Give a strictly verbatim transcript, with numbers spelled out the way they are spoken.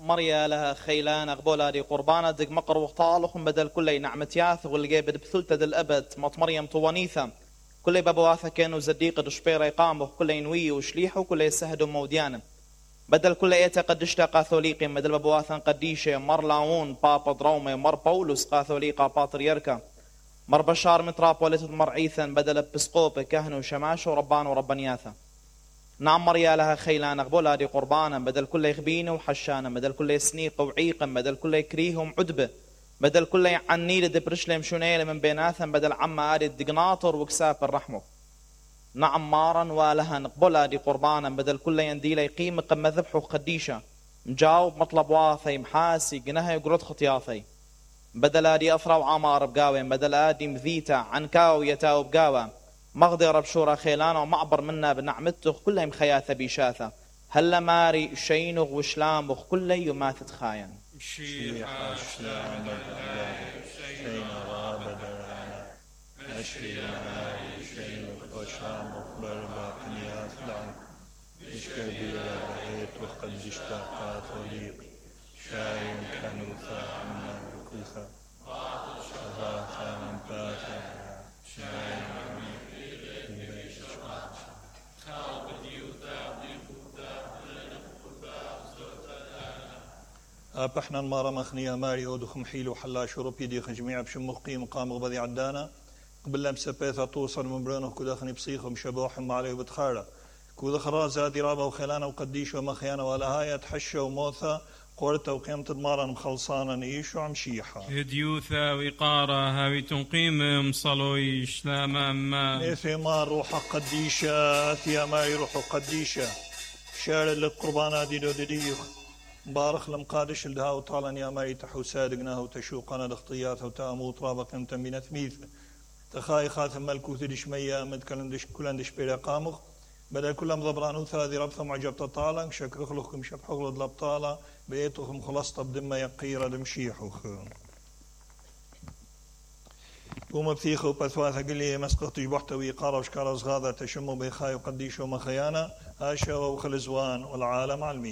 مريا لها خيلان أقبولا دي قربانة دق مقر وطالخ بدل كل نعمة ياث والجي بد بثلت دل الأبد مط مريم طوانيثا كل بابواثا كانوا زديق دشبيرة يقامه كل ينوي وشليحه كل يسهدوا موديانا بدل كل ايتا قدشتا قاثوليقي بدل بابواثا قديشة مر لاون بابا درومي مر بولس قاثوليقا باتريركا مر بشار متراب ولتد مر عيثا بدل بسقوب كهن وشماش وربان وربانياثا نعم مريا لها خيلان أقبولا دي قربانا بدل كل يخبين وحشانا بدل كل سنيق وعيقا بدل كل يكريهم عدبة بدل كل عني لدبرشلم شونيل من بيناثا بدل عما آدي الدقناطر وكساف الرحمه نعم مارا ولها نقبولا دي قربانا بدل كل ينديل يقيم قم ذبحه خديشة مجاوب مطلب واثي محاسي قنها يقرد خطياثي بدل آدي أثرى وعمار بقاوي بدل آدي مذيتا عنكاو يتاو بقاوي مغدر بشورا خيلانا ومعبر منا بنعمته كلها مخياثة بيشاثة هلا ماري شينغ وشلام وخ كل يماثت خاين شيحة شلام شين غابدانا أشري ماري شينغ وشلام وخبر باقنيات لعن إشكبيرا بهيت وقدشتا قاثوليق شاين كنوثا عنا بكوثا شباثا من باثا شاين أبحنا المارا مخنيا ماري أودخم حيلو حلا شروبي دي خجميع بشم قيم قام غبضي عدانا قبل لمسة بيثا توصل من برانه كودا خني بصيخهم شبوحهم عليه بتخارة كودا خراز هاتي رابا وخيلانا وقديش ومخيانا ولا هاي تحشة وموثا قورتا وقيمة المارا مخلصانا نيش وعمشيحة هديوثا وقارة هاوي تنقيم صلوي شلاما ما نيثي مار روح قديشة ثيا ماري روح قديشة شارع للقربانات دي دو ديوخ بارخ لم قادش الدها وطالا يا ماري تحو صادقنا وتشوقنا دخطيات وتامو طرابق امتن بنثميث تخاي خاثم ملكوث دش ميا مد كلندش كلندش بلا قامخ بدل كلهم ضبرانو ثاذي ربثم عجبت طالا شكر خلقكم شبح غلط لبطالا بيتهم خلصت بدم يقير دمشيحوخ قوم بثيخو بثواثة قل لي مسقط تجبحت ويقارا وشكارا صغاذا تشمو بيخاي وقديشو مخيانا هاشا وخلزوان والعالم علمي